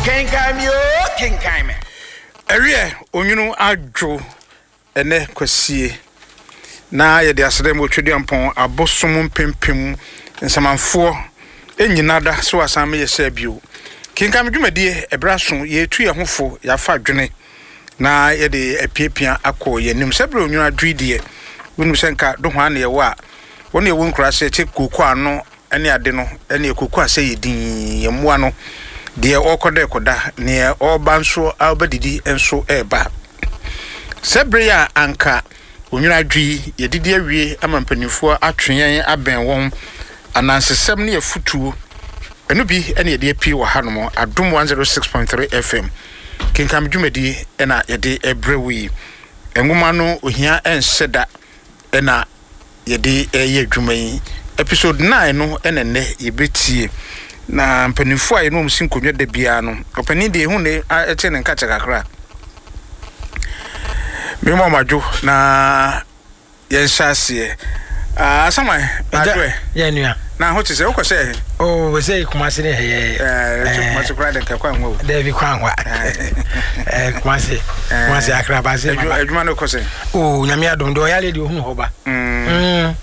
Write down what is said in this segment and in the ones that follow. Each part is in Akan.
Kenkan me oo, kenkan me. Ɛwiɛ, onwunu adwo ɛnɛ kwasie na yɛde aseda mu Otweduampɔn abosom mpempem nsamanfoɔ nnyina da sɛ wasan meyɛ sɛ bio. Kenkan me dwumadie ɛberɛ aso yɛretu yɛn ho fo yɛafa adwene na yɛde apiapia akɔ yɛn anim. Sɛ berɛ onwunu adwo yi deɛ wonim sɛ nka dohoa na yɛwɔ a wɔn yɛwɔ nkuraase ɛkyɛ kooko ano ne ade no ne ɛkɔku asɛ yɛ dinn, yɛn mmoa no, deɛ ɔrekɔda rekɔda, neɛ ɔreba nso ɔrebɛdidi nso reba. Sɛ bere a anka onwunu adwo yi, yɛdidi awie ama mpanimfoɔ atwe yɛn abɛn wɔn, anansesɛm ne afutuo, ɛno bi ne yɛde apue wɔ hanom, Adom 106.3 FM, Kenkan dwumadi na yɛde brɛ wo yi. Nwoma no ohia nhyɛ da na yɛde reyɛ adwuma yi. Episode 9 no na nnɛ yɛbɛtie. Na mpanimfoɔ a yɛne wɔn si nkonnwa da biara no, ɔpanin deɛ ehu ne ɛte ne nkakyɛ kakra. Mema wɔn adwo na yɛnhyɛ aseɛ. Ah, Asaman, adwo ɛ. Yɛ nua. Na ho te sɛ wokɔ sɛ ɛhe? Oh, sɛ Kumasi ne ɛyɛ. Ɛɛ, Kumasi koraa de nka kwan ho. Dɛbi kwan ho. Ɛɛ, Kumasi, Kumasi Accra ba se. Adwuma no kɔ sɛ. Oh, nyame adom de ɔyale de ohunu hɔ ba. Mm. mm.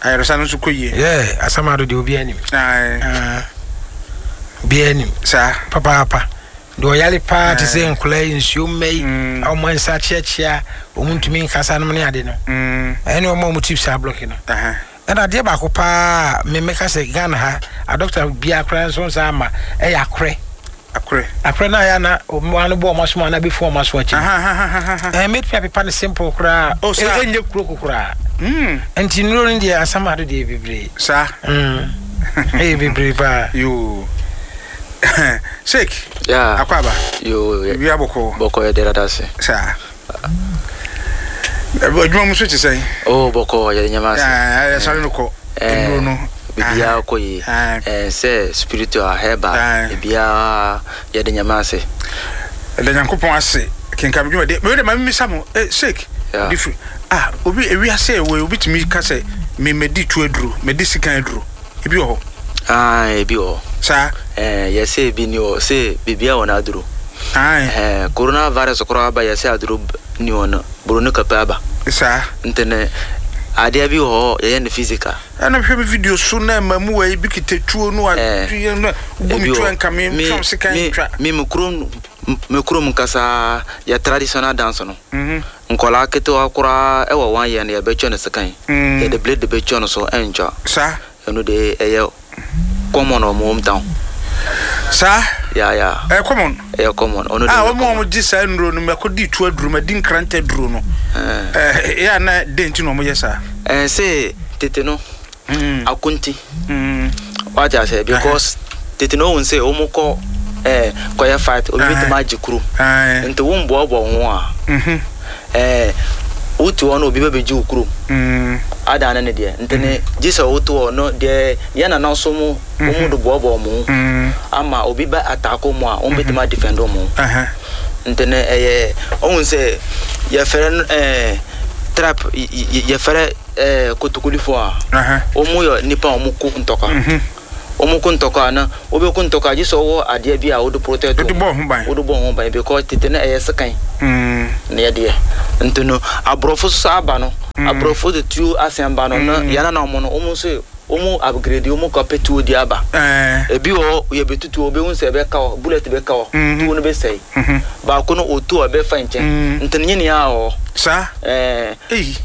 Ayaresa no nso kɔ yie. Yeah, asamado de obi anim. Aye. Uh, obi anim. Saa. Papaapa. De ɔyale paa te sɛ nkɔla yi nsuo mma yi mm. a wɔn nsa kyeakyea wɔn ntumi nkasa nom ne ade no. Mm. Ɛne wɔn a wɔn ti saa blɔki no. Uh -huh. Ɛna adeɛ baako paa a me mɛka sɛ Ghana ha adɔkta biara koraa nso nsa ama ɛyɛ akorɛ. Akorɛ. Akorɛ no ayɛ na wɔn ano bɔ wɔn asom anaa bɛfu wɔn aso akyi. Ɛɛ mɛtumi apepa no simple koraa. Oh, saa. Ɛnyɛ kuro ko koraa. Mm. Nti nnuro no deɛ asam ado deɛ bebree. Saa. Mm. Ɛyɛ bebree paa. Yoo. Sheik. Yeah. Akwaaba. Yoo. Biribi abɔkɔ. Bɔkɔ yɛ deɛ dada ase. Saa. Adwuma mu nso te sɛn? Oh, bɔkɔ yɛde nyɛma ase. Ɛɛ, no kɔ. Nnuro no. Biribiara kɔ yie. Ɛɛ, sɛ spiritual, herbal, biribiara yɛde nyɛma ase. Ɛda Nyankopɔn ase. Kenkan me dwumadi. Mewɔ de ma mimisa mo, eh, Sheik. Yeah. Difiri. Ah, obi ewiase ɛwɔ obi tumi ka sɛ me medi tu aduro, medi sikan aduro. Ebi wɔ hɔ. Aane, ebi wɔ hɔ. Saa? Ɛɛ, yɛse ebi ni hɔ, se biribiara wɔ n'aduro. Aane. Ɛɛ, corona virus koraa ba yɛse aduro ni hɔ no, buroni kɔpɛ aba. Saa? Nti no, adeɛ bi wɔ hɔ yɛyɛ no physical. Ɛna mehwɛ me video so na mmamuwa yi bi kita tuo no a, Ɛɛ, na wobɔ me ebi tuo wɔ a nka me Me, twa sekan me, twa. me, me kurom, me kurom nkasa yɛ traditional dance no. Nkwadaa ketewa koraa wɔ one year no yɛbɛtwa no sekan. Yɛde blade bɛtwa no so ɛntwa. Saa. Ɛno de ɛyɛ common wɔ mo home town. Saa. Yeah yeah. Ɛyɛ common. Ɛyɛ common. Ɔno de ɛyɛ common. Ah wɔn a wɔgye saa nnuro no mɛkɔ di tu aduro mɛ di nkrantɛ aduro no. Ɛɛ yɛ a na den ti na wɔn yɛ saa. Ɛɛ se tete no. Akonti. Wate aseɛ because tete no ohun sɛ wɔn kɔ ɛɛ kɔyɛ fight obi betumi agye kurom. Nti wo mboaboa wo ho a ɛɛ wote hɔ no obi bɛbɛgye wo kurom adan ne ne deɛ nti ne gye sɛ wote hɔ no deɛ yɛn nana so mo wɔn de boaboa wɔn ho ama obi bɛ attack wɔn a wɔn betumi adefend wɔn ho. Nti no ɛyɛ ohun sɛ yɛfrɛ no ɛɛ trap yɛfrɛ. Eh, Kotokolifo a, wɔn yɛ nnipa a wɔn ko ntɔkwa. Wɔn ko ntɔkwa a, na wobɛko ntɔkwa a, gye sɛ wɔwɔ adeɛ bi a wode protect wɔn. Wode bɔ ho ban. Wode bɔ ho ban because tete no ɛyɛ sekan na yɛdeɛ. Nti no, aborɔfo nso aba no, aborɔfo de tuo asɛm ba no, na yɛn nananom no, wɔn nso wɔn upgrade, wɔn kɔ pɛ tuo de aba. Ebi wɔ hɔ, yɛbɛtu tuo, wobɛhu sɛ ɛbɛka hɔ, bullet bɛka hɔ, tuo no bɛsɛe. Baako no, ɔtu a ɛbɛfa nkyɛn. Nti no, nyinaa wɔ hɔ. Saa? Ɛɛ. Ei.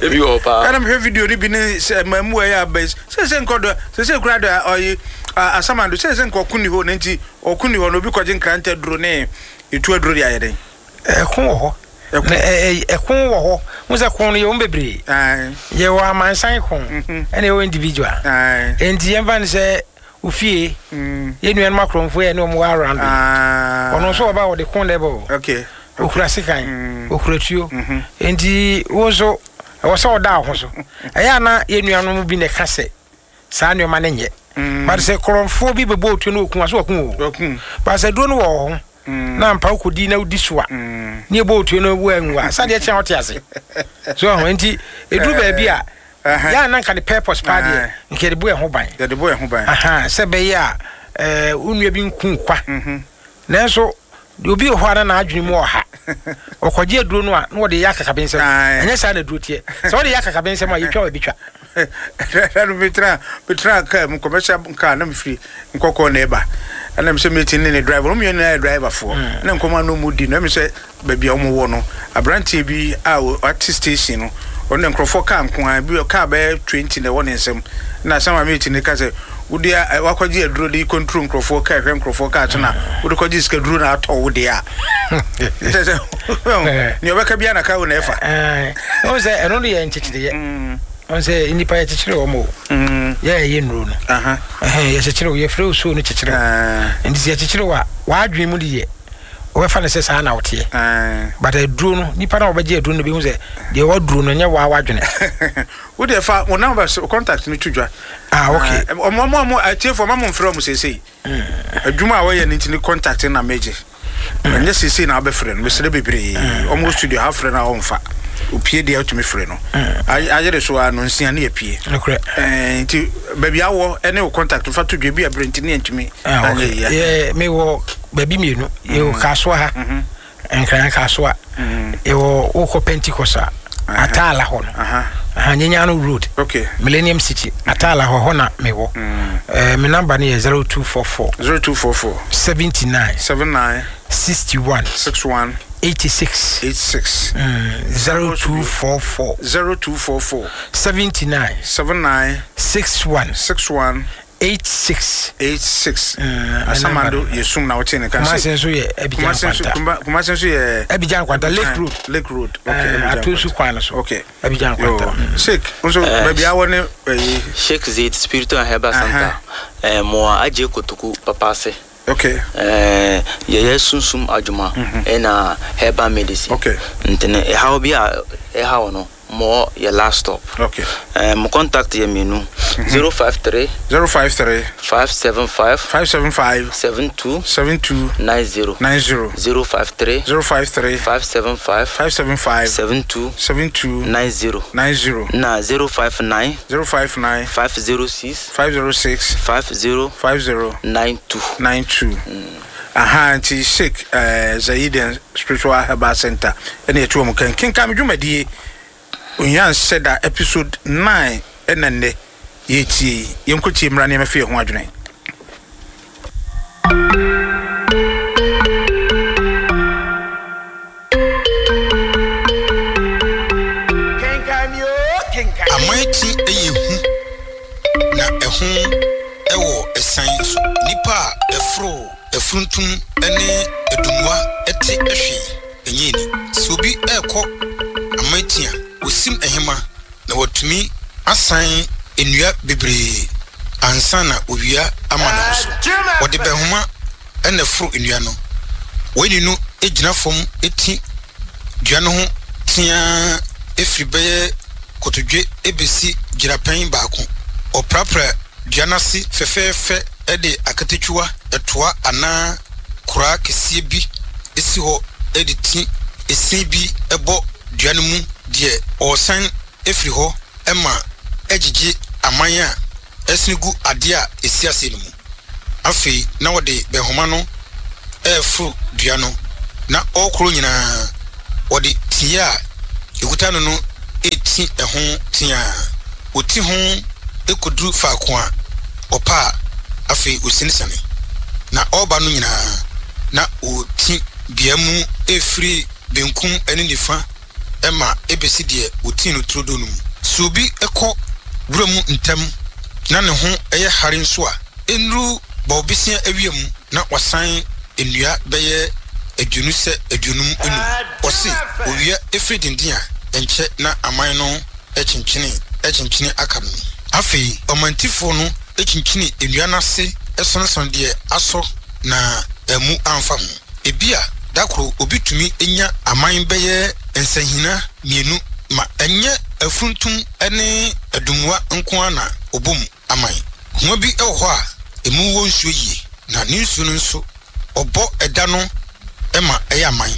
Ebi wɔ hɔ paa. Ɛna mehwɛ video no bi ne sɛ mmamu ɛyɛ aba yi. Sɛ sɛ nkɔ do sɛ sɛ kura do ɔyi asamando sɛ sɛ nkɔ ɔko ni hɔ na nti ɔko ni hɔ na obi kɔgye nkrantɛ duro ne etu aduro de ayɛ dɛn. Ɛko wɔ hɔ. Ɛko. Na ɛko wɔ hɔ. Mo sɛ ko no yɛ wɔn bebree. Yɛ wɔ amansan ko ɛna yɛ wɔ individual. Nti yɛn fa no sɛ ofie yɛ nuanom akorɔmfo yɛ ne wɔn wɔ around. Ɔno nso ɔba ɔde ko na ɛbɔ. Okay. Okura sekan, okura tuo. Nti wo nso ɛwɔ sɛ ɔda wo ho so. Ɛyɛ a na yɛn nuanom bi na ɛka sɛ saa nneɛma no nyɛ. But sɛ korɔmfoɔ bi bɛbɔ otuo na ɔku a, so waku o. But sɛ duro no wɔ wo ho na ampa wokɔdi na wodi so a, ne ɛbɔ otuo no wo anwu a, sɛ adeɛ kye a wote ase. So ɛho nti ɛduru baabi a yɛ a na nka ne purpose paa deɛ nka yɛde bɔ yɛn ho ban. Yɛde bɔ yɛn ho ban. Sɛ ɛbɛyɛ a wo nua bi nku kwa. Nanso deɛ obi wɔ hɔ a na n'adwene mu ɔha, ɔkɔgye aduro no a na wɔde yɛ akakabensɛm. Ɛnyɛ saa na aduro teɛ. Sɛ wɔde yɛ akakabensɛm a, yɛtwa a ɛbɛtwa. Ɛda no metra metra kaa mu commercial kaa na mefiri nkɔkɔɔ na ɛba ɛna mesɛ meti ne ne driver wɔn mmienu nyinaa yɛ driverfoɔ mm. na nkɔmɔ ano mu di na mesɛ baabi a wɔn wɔ no aberanteɛ bi a ɔte station no ɔno na nkurɔfoɔ kaa nko ara bi kaa bɛyɛ 20 na ɛwɔ ne nsam na asɛm a meti ne ka sɛ wode wakɔgye aduro de control nkurɔfoɔ kaa hwɛ nkurɔfoɔ kaa so na wode kɔgye sika duro na atɔ wo deɛ a sɛ sɛ nea ɔbɛka biara na ka wo na ɛfa ɔhu sɛ ɛno no yɛ nkyekyereɛ ɔhu sɛ nnipa yɛkyekyere wɔn o yɛ ɛyɛ nnuro no yɛkyekyere wo yɛfrɛ wo suo no kyekyere wo nti sɛ yɛkyekyere wo a w'adwene mu de yɛ wɔbɛfa no sɛ saa na woteɛ but aduro no nipa na wɔbɛgye aduro no bɛhu sɛ deɛ waduro no nyɛ waa wadwene wo deɛ fa wo number contact no to dwa ah okay ɔmo ɔmo ɔmo atiefo ɔmo mfrɛ ɔmo seesei adwuma a wɔyɛ no nti ne contact na megye ɛnyɛ seesei na wabɛfrɛ no mesrɛ bebree ɔmo wɔ studio ha frɛ no a ɔmfa opie deɛ wotumi frɛ no ayere so a no nsia ne yɛpie nti baabi awɔ ɛne wo contact fa to dwa bi a berɛ nti ne yɛntumi ah, anyɛ yie mewɔ baabi mmienu yɛwɔ kasoa ha Nkran Kasoa yɛwɔ wokɔ Pentecost a Ataala hɔ no Nyenyano Road okay. Millennium City Ataala hɔ hɔ na mewɔ mm. eh, me number no yɛ 0244 0244 79 79 61 61 86 86 mm, 0244 0244 79 79 61 61 86. 86 Asamando yɛ sum na wote ne ka. Kumasi nso yɛ Abidjan Nkwanta. Kumasi nso yɛ Abidjan Nkwanta Lake Road. Lake Road. Okay. Abidjan Atonsu kwan no so. Okay. Abidjan Nkwanta. Mm. Sheikh nso baabi awɔ ne ɛyi. Sheikh Zaid Spiritual and Herbal Center. Ɛɛ mo agye kotoku papa ase. Okay. Ɛɛ yɛyɛ sunsum adwuma ɛna herbal medicine. Okay. Nti no ɛhaw bi a ɛhaw no. Mo yɛ last stop. Okay. Eh, mo contact yɛ mmienu. 053. 053. 575. 575. 72. 72. 90. 90. 053. 053. 575. 575. 72. 72. 90. 90. Na 059. 059. 506. 506. 50. 50. 92. 92. Aha nti Sheikh eh, Zayiden Spiritual Herbal Center ɛna yɛte wɔn kan kenkan dwumadie Ohia Nhyɛ Da episode 9 ɛna nnɛ yɛretie yi. Yɛnkɔtie mmra nneɛma fi yɛn ho adwene. Aman ti yɛ hu, na ɛho wɔ asiane nso. Nnipa a ɛforo afuntum ne adumoa te hwee nyɛ ani. Sɛ obi rekɔ aman ti a, osim nhema na watumi asan nnua bebree ansa na owia ama ne ho so. Wɔde bɛnhoma na ɛforo nnua no. Wɔn no gyina fam ti dua no ho teaa firi bɛyɛ kotodwe bɛsi gyinapɛn baako. Wɔprapra dua no ase fɛfɛɛfɛ de akatakyiwa, toa anaa koraa kɛseɛ bi si hɔ de ti sin bi bɔ dua no mu deɛ ɔresan firi hɔ ma ɛgyegye aman a ɛsene gu adeɛ a ɛsi aseɛ no mu. Afei na wɔde bɛnhoma no reforo dua no, na ɔrekorɔ nyinaa, wɔde teeɛ a ɛkuta no no reti ɛho teaa. Ɔti ho kɔduru faako a ɔpɛ a, afei ɔsianesiane. Na ɔreba no nyinaa, na ɔreti dua mu refiri benkum ne nifa ma ebesi deɛ wɔtii no turodoo no mu. Sɛ obi kɔ wura mu ntɛm na ne ho yɛ hare nso a, ɛnnuru bɔbesia awia mu na wasan nnua bɛyɛ aduonu sɛ 55. Ɔse owia firi denden a, ɛnkyɛ na aman no kyenkyene kyenkyene aka no. Afei ɔmantifoɔ no kyinkyini nnua no ase sɔnesɔne deɛ asɔ na ammu amfa ho. Ebia da koro obi tumi nya aman bɛyɛ nsahina mmienu ma ɛnyɛ afuntum ne adummoa nko ara na ɔbɔ mu aman. Homa bi wɔ hɔ a emu wɔ nsuo yie, na ne nsuo no nso ɔbɔ ɛda no ma ɛyɛ aman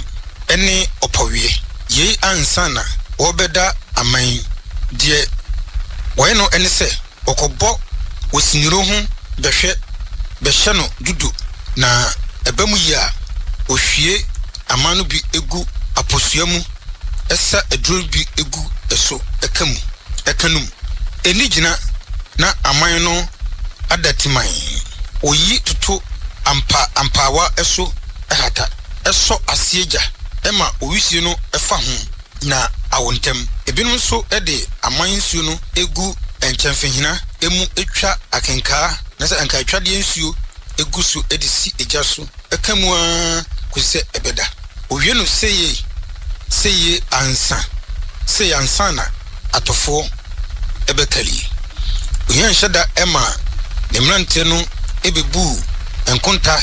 ne ɔpɔweɛ. Yei ansa na wɔrebɛda aman yi, deɛ wɔyɛ no ne sɛ wɔkɔbɔ osiniro ho bɛhwɛ bɛhyɛ no dudo na ɛba mu yie a. Ɔhwie aman no bi gu aposua mu sa aduro no bi gu so ka mu ka no mu. Ɛnni gyina na aman no ada timan. Ɔyi toto ampa ampaawa so hata, sɔ aseɛ gya ma owisie no fa ho na awo ntɛm. Ebinom nso de aman nsuo no gu nkyɛmfehena mu twa akenkaa anaasɛ ankaatwadeɛ nsuo gu so de si gya so ka mu ara kɔsi sɛ ɛbɛda. Wɔwie no seyie seyie ansa sei ansa na atɔfoɔ bɛkalie. Ohia nhyɛ da ma ne mmeranteɛ no bɛbuu nkonta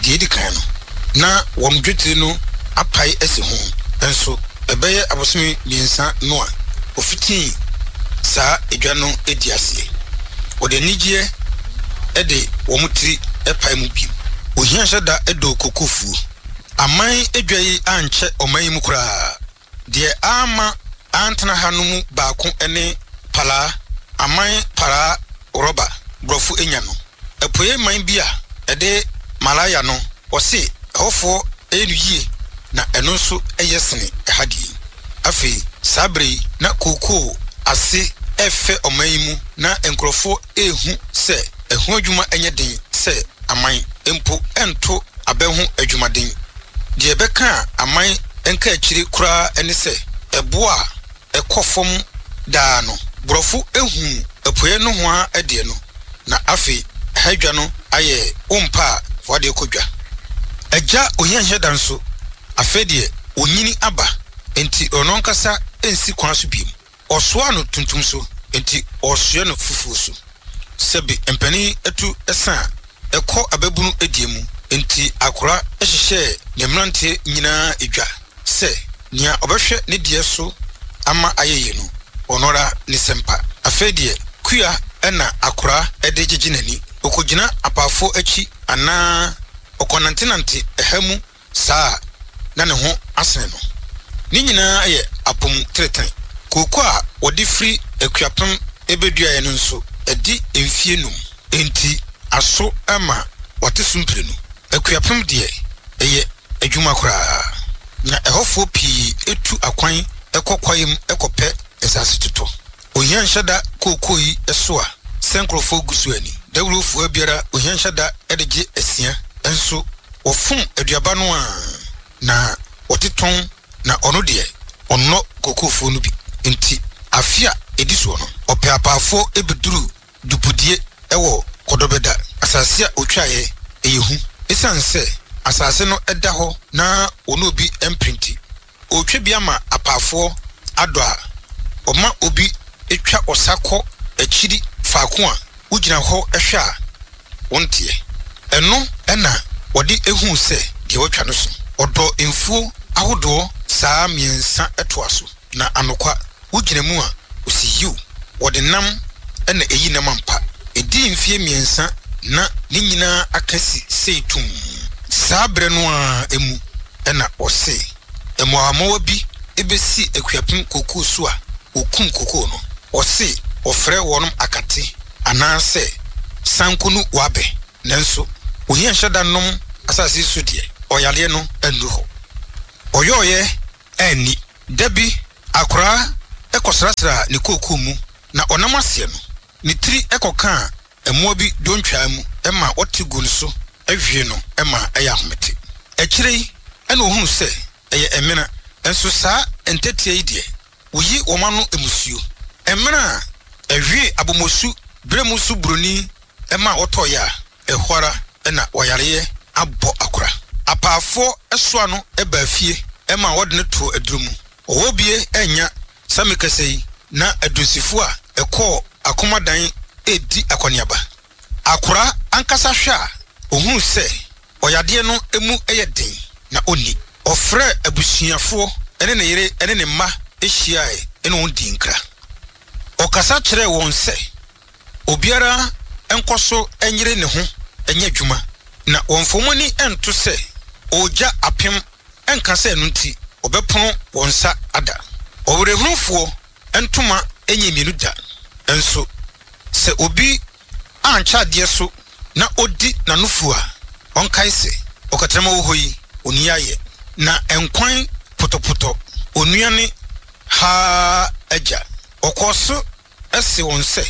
deɛ ɛdi kan no, na wɔn dwetire no apae asi ho. Nso ɛbɛyɛ abosome mmiɛnsa no a wɔfitii saa dwa no di aseɛ. Wɔde anigyeɛ de wɔn tiri pae mu bio. Ohia nhyɛ da dɔɔ kokofuo. Aman dwa yi ankyɛ ɔman yi mu koraa. Deɛ amma antena ha no mu baako ne Palaa, aman paraa rɔba borɔfo anya no. Apueɛ man bi a ɛde Malaya no, wɔse ɛhɔfoɔ yɛ no yie na ɛno nso yɛ sene ɛha deɛ yi. Afei saa berɛ yi na kookoo ase refɛ ɔman yi mu na nkurɔfoɔ rehu sɛ ɛho adwuma nyɛ den sɛ aman mpo nto abɛ ho adwumaden. Deɛ ɛbɛka aman nkaakyire koraa ne sɛ ɛboɔ a ɛkɔ fam daa no, borɔfo huu apueɛ nohoa deɛ no, na afei ɛha dwa no ayɛ wo mpa a fa w'adeɛ kɔ dwa. Agya Ohiahiada nso, afei deɛ ɔnyini aba, enti ɔno ankasa nsi kwan so bio. Ɔsoaa no tuntum so, enti ɔresoɛ no fufuo so. Sɛbe mpanin atu sa a, ɛkɔ ababunu deɛ mu, enti akora hyehyɛɛ ne mmeranteɛ nyinaa dwa sɛ nea ɔbɛhwɛ ne deɛ so ama ayɛ yie no, ɔno ara ne sɛmpa. Afei deɛ, kua na akora de gyegye n'ani. Ɔkɔgyina apaafoɔ akyi anaa ɔkɔnantenante ɛha mu saa a, na ne ho asene no. Ne nyinaa yɛ apɔmu tenetene. Kooko a wɔde firi Akuapem bɛduaeɛ no nso, adi mfeɛ num, enti aso ma wɔate so mprenu. Akuapem deɛ, ɛyɛ adwuma koraa, na ɛhɔfoɔ pii tu akwan kɔ kwaeɛ mu kɔpɛ nsase totɔ. Ohia nhyɛ da kookoo yi so a sɛ nkurɔfoɔ gu so ani. Dawuro fua biara ohia nhyɛ da de gye asia nso wɔfom aduaba no a na wɔte tɔn na ɔno deɛ ɔnnɔ kookoofoɔ no bi nti afe a ɛdi soɔ no ɔpɛ apaafoɔ bɛduru dupudie wɔ Kɔdɔbɛda asase a ɔtwaeɛ ɛyɛ hu ɛsiane sɛ asase no da hɔ na wɔne obi mpere nti. Ɔretwa bi ama apaafoɔ adɔ a, ɔma obi twa ɔsa kɔ akyiri faako a wogyina hɔ hwɛ a wonteɛ. Ɛno na wɔde huu sɛ deɛ watwa no so. Ɔdɔ mfuo ahodoɔ saa mmiɛnsa toa so, na anokwa, wogyina mu a, ɔsi yiw, wɔde nam na eyi nam ampa. Edii mfeɛ mmiɛnsa na ne nyinaa aka si sei tumm. Saa berɛ no ara mu na ɔse mmoawammoawa bi bɛsi Akuapem kookoo so a wɔkum kookoo no. Ɔse wɔfrɛ wɔnom akate anaasɛ sankonu wabɛ. Nanso ohia nhyɛ da nnom asase yi so deɛ, ɔyareɛ no annuru hɔ. Ɔyɔeɛ anni. Da bi, akoraa kɔsrasraa ne kookoo mu, na ɔnam aseɛ no, ne tiri kɔkaa mmoa bi dontwaa mu ma wɔte guu ne so hwee no ma ɛyɛ ahomete. Akyire yi na ɔhunuu sɛ ɛyɛ mmena, nso saa ntɛtea yi deɛ, wɔyi wɔn ano mmusuo. Mmena a ɛhwee abomosu berɛ mu so buroni ma ɔtɔeɛ a, ɛhɔ ara na ɔyareɛ abɔ akora. Apaafoɔ soa no baa fie ma wɔde no too aduro mu. Ɔwɔ bie annya sa mekasa yi na adunsifo a ɛkɔɔ akomadan redi akɔneaba. Akora ankasa hwɛ a, ɔhunu sɛ ɔyadeɛ no mu yɛ den na ɔnni. Ɔfrɛɛ abusuafoɔ ne ne yere ne ne mma hyiaeɛ ne wɔn dii nkra. Ɔkasa kyerɛɛ wɔn sɛ obiara nkɔ so nyere ne ho nyɛ adwuma na wɔmfa wɔn ani nto sɛ ɔregya apem nka sɛ ɛno nti wɔbɛpono wɔn nsa ada. Ɔwerɛhunufoɔ ntoma nyɛ mmienu da, nso sɛ obi ankyɛ adeɛ so na ɔdi n'ano fua a, ɔnkae sɛ, Ɔkatarama wɔ hɔ yi. ɔnni ayɛ. Na nkwan potɔpotɔ onua ne haa agya. Ɔkɔɔ so see wɔn sɛ,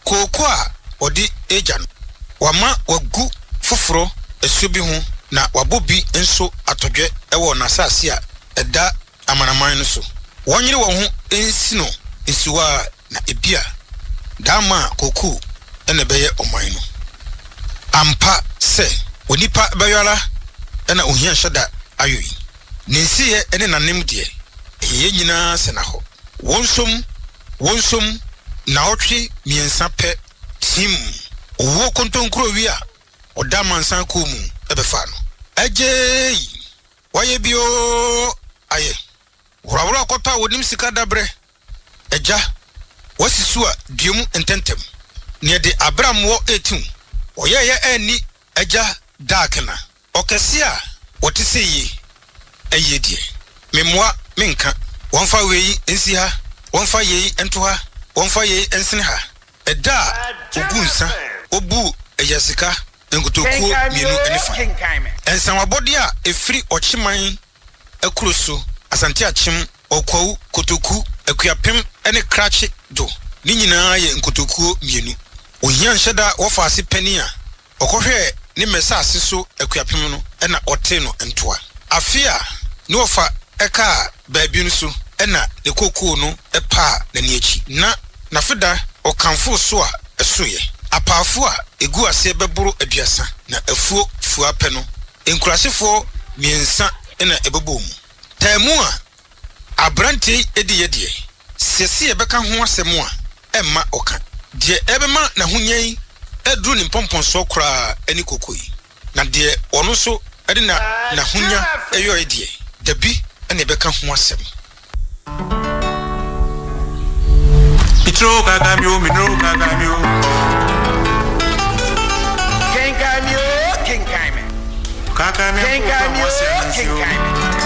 Kooko a wɔde regya no, wɔama wɔagu foforo asuo bi ho na wɔabɔ bi nso atɔdwɛ wɔ n'asase a ɛda amanaman no so. Wɔnyere wɔn ho nsi no nsiwa na ebia daama a kookoo na ɛbɛyɛ ɔman no. Ampa sɛ onipa bɛyɔ ara na ohia nhyɛ da ayɔ yi. Ne nsiyɛ ne n'anem deɛ, ɛyɛ yɛn nyinaa sɛnnahɔ. Wɔnsom, wɔnsom, nnawɔtwe mmiɛnsa pɛ, team, owuo kontonkurowi a ɔda amansan kuo mu bɛfaa no. Agyeei! Wayɛ bi oo, ayɛ. Worɔworɔ kɔtɔ a wɔnim sika dabrɛ. Agya, woasi so a dua mu ntɛmntɛm. Neɛ de abrammoɔ retew. Ɔyɛeɛ anni agya daakena. Ɔkɛseɛ a ɔte sɛ yie ayie deɛ, memmoa menka. Wɔmfa wei nsi ha, wɔmfa yei nto ha, wɔmfa yei nsene ha. Ɛda a ɔguu nsa, ɔbuu agyasika nkotokuo mmienu ne fa. Nsawabɔdeɛ a ɛfiri Ɔkyeman akuro so, Asante Akyem, Ɔkwawu, Kotoku, Akuapem ne Krakye do, ne nyinaa yɛ nkotokuo mmienu. Ohia nhyɛda wɔfa ase panin a ɔkɔhwɛɛ ne mmɛsase so Akuapem no na ɔtee no ntoa. Afe a ne wɔfa kaa baabi no so na ne kookoo no paa n'ani akyi, na n'afeda ɔkamfoo so a ɛsoeɛ. Apaafo a ɛguu aseɛ bɛboro 30 na afuo fua pɛ no Nkurasefoɔ mmiɛnsa na ɛbɛbɔɔ mu. Taamu a aberanteɛ yi diiɛ deɛ, sɛ se yɛbɛka ho asɛm a, ɛmma ɔka. Deɛ ɛbɛma n'ahonya yi aduru ne mpɔmpɔnsoɔ koraa ne koko yi. Na deɛ ɔno nso de n'ahonya yɔeɛ deɛ, dabi na yɛbɛka ho asɛm. Mitro kakamio, mitro kakamio. Kenkan mi o, kenkan mi. Kakamio, Kenkan mi o, kenkan mi.